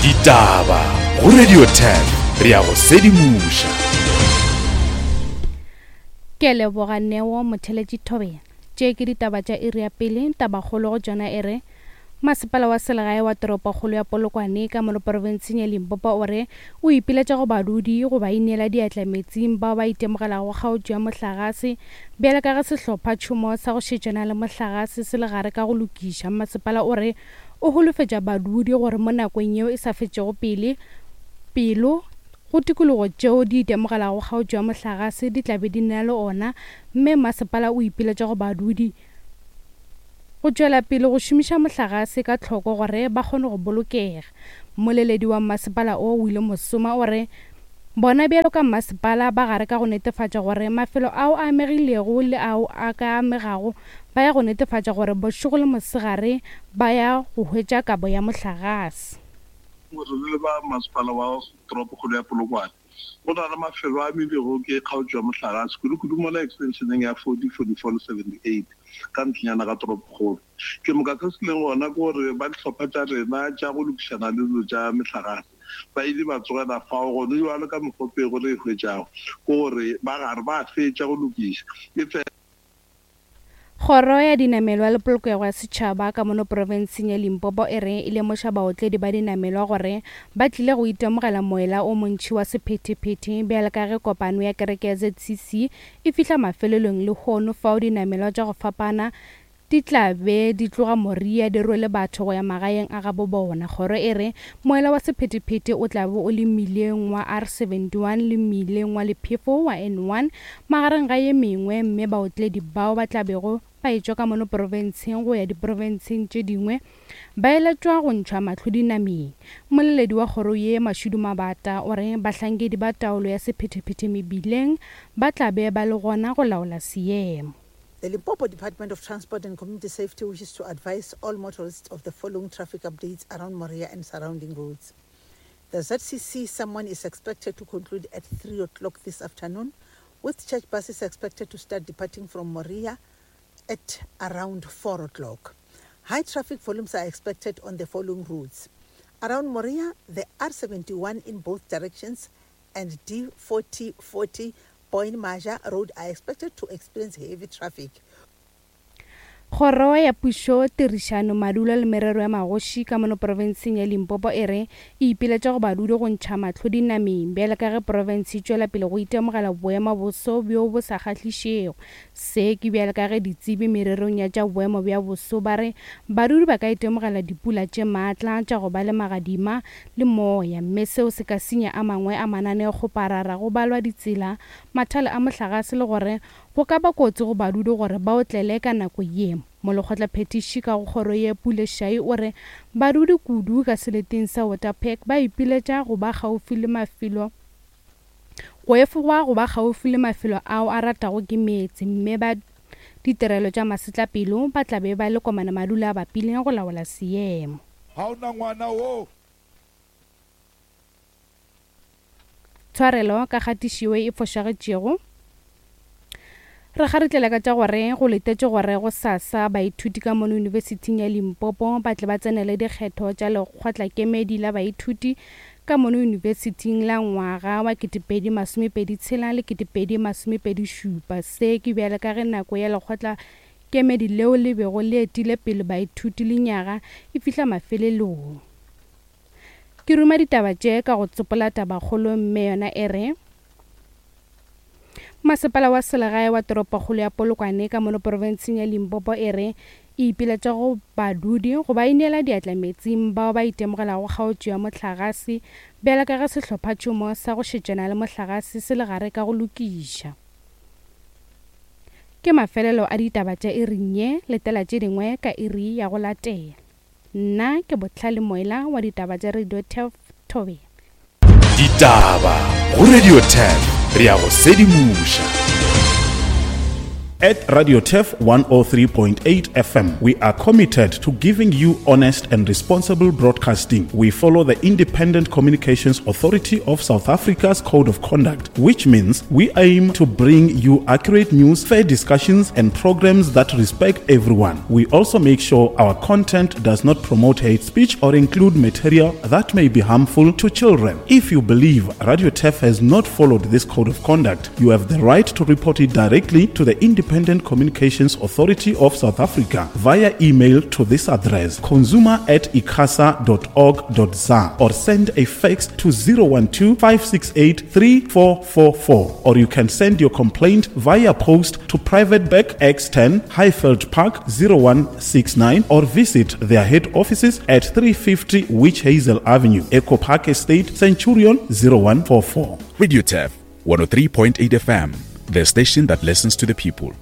Ditaba go Radio 10 re a go sedimoša. Ke a leboga Neo Motheletši Thobela. Tše ke ditaba tša iri ya pele, tabakgolo go tšona e re, Masepala wa selegae wa toropokgolo ya Polokwane ka mono profenseng ya Limpopo o re o ipiletša go badudi go ba ineela diatla metsing bao ba itemogelago kgaotšo ya mohlagase bjale ka ge sehlopha tšhomo sa go šetšana le mohlagase se le gare ka go lokiša. Masepala o re o holofetša badudi gore mo nakong yeo e sa fetšego pele pelo go tikologo tšeo di itemogelago kgaotšo ya mohlagase di tla be di na le ona mme masepala o ipiletša go badudi Go tšwela pele go šomiša mohlagase ka tlhoko gore ba kgone go bolokega. Mmoleledi wa mmasepala o, Willie Mosoma o re bona bjalo ka mmasepala ba gare ka go netefatša gore mafelo ao a amegilego le ao a ka amegago ba ya go netefatša gore bošego le mosegare ba ya go hwetša kabo ya mohlagase. Re le ba masepala wa toropokgolo ya Polokwane Go na le mafelo a amilwego ke kgaotšo ya mohlagase, kudu-kudu mola ekstenšeneng ya 40, 44 le 78 ka ntlenyana ga toropokgolo. Ke moka se se leng gona ke gore ba dihlopha tša rena tša go lokišana le dilo tša mehlagase ba ile ba tsogela fao. Gone bjalo ka mekgwa pego re e hwetšago ke gore ba gare ba fetša go lokiša, efela. Kgoro ya Dinamelwa le Polokego ya Setšhaba ka mono profenseng ya Limpopo e re e lemoša baotledi ba dinamelwa gore ba tlile go itemogela moela o montši wa sephethephethe bjale ka ge kopano ya kereke ya ZCC e fihla mafelelong lehono fao dinamelwa tša go fapana di tla be di tloga Moria di rwele batho go ya magaeng a gabo bona. Kgoro e re moela wa sephethephethe o tla be o le mmileng wa R71 le mmileng wa lephefo wa N1 Magareng ga ye mengwe, mme baotledi bao ba tla bego ba etšwa ka mono profenseng go ya diprofenseng tše dingwe ba eletšwa go ntšhwa mahlo dinameng. Mmoleledi wa kgoro ye, Mashudu Mabata, o re bahlankedi ba taolo ya sephethephethe mebileng ba tla be ba le gona go laola seemo. The Limpopo Department of Transport and Community Safety wishes to advise all motorists of the following traffic updates around Moria and surrounding roads. The ZCC someone is expected to conclude at 3 o'clock this afternoon, with church buses expected to start departing from Moria at around 4 o'clock. High traffic volumes are expected on the following routes. Around Moria, the R71 in both directions and D4040 Point Maja Road are expected to experience heavy traffic. Kgoro ya Pušo, Tirišano, Madulo le Merero ya Magoši ka mono profenseng ya Limpopo e re e ipiletša go badudi go ntšha mahlo dinameng bjale ka ge profense e tšwela pele go itemogela boema boso bjo bo sa kgahlišego. Se ke bjale ka ge ditsebi mererong ya tša boemo bja boso ba re badudi ba ka itemogela dipula tše maatla tša go ba le magadima le moya mme seo se ka senya a mangwe a mananeokgoparara go balwa ditsela, mathale a mohlagase le gore Go ka ba kotsi go badudi gore ba otlele ka nako ye. Molekgotlaphethiši ka go kgoro ye Pule Shai o re badudi kudu ka seleteng sa Waterpark ba ipiletša go ba kgaufi le mafelo go efogwa go ba kgaufi le mafelo ao a ratago ke meetse mme ba ditirelo tša masetlapelo ba tla be ba le komana madula a bapile go laola seemo. Ga o na ngwana wo. Tshwarelo ka kgatišo ye e fošagetšego. Re kgaritlela ka tša gore go letetšwe gore gosasa baithuti ka mono Yunibesithing ya Limpopo ba tle ba tsenele dikgetho tša lekgotlakemedi la baithuti ka mono yunibesithing la ngwaga wa 2026 le 2027. Se ke bjale ka ge nako ya lekgotlakemedi leo le bego le etile pele baithuti lenyaga e fihla mafelelong. Ke ruma ditaba tše ka go tsopola tabakgolo mme yona e re, Masepala wa selegae wa toropokgolo ya Polokwane ka mono profenseng ya Limpopo e re e ipiletša go badudi go ba ineela diatla metsing bao ba itemogelago kgaotšo ya mohlagase bjalo ka ge sehlophatšhomo sa go šetšana le mohlagase se le gare ka go lokiša. Ke mafelelo a ditaba tša iring ye, letela tše dingwe ka iri ya go latela. Nna ke Bohlale Moela wa ditaba tša Radio Turf Thobela. Ditaba go Radio Turf, re a go sedimoša. At Radio Turf 103.8 FM, we are committed to giving you honest and responsible broadcasting. We follow the Independent Communications Authority of South Africa's Code of Conduct, which means we aim to bring you accurate news, fair discussions, and programs that respect everyone. We also make sure our content does not promote hate speech or include material that may be harmful to children. If you believe Radio Turf has not followed this code of conduct, you have the right to report it directly to the Independent Communications Authority of South Africa via email to this address consumer at icasa.org.za or send a fax to 012 568 3444 or you can send your complaint via post to Private Bank X10 Highveld Park 0169 or visit their head offices at 350 Witch Hazel Avenue, Echo Park Estate, Centurion 0144. Radio Turf 103.8 FM, the station that listens to the people.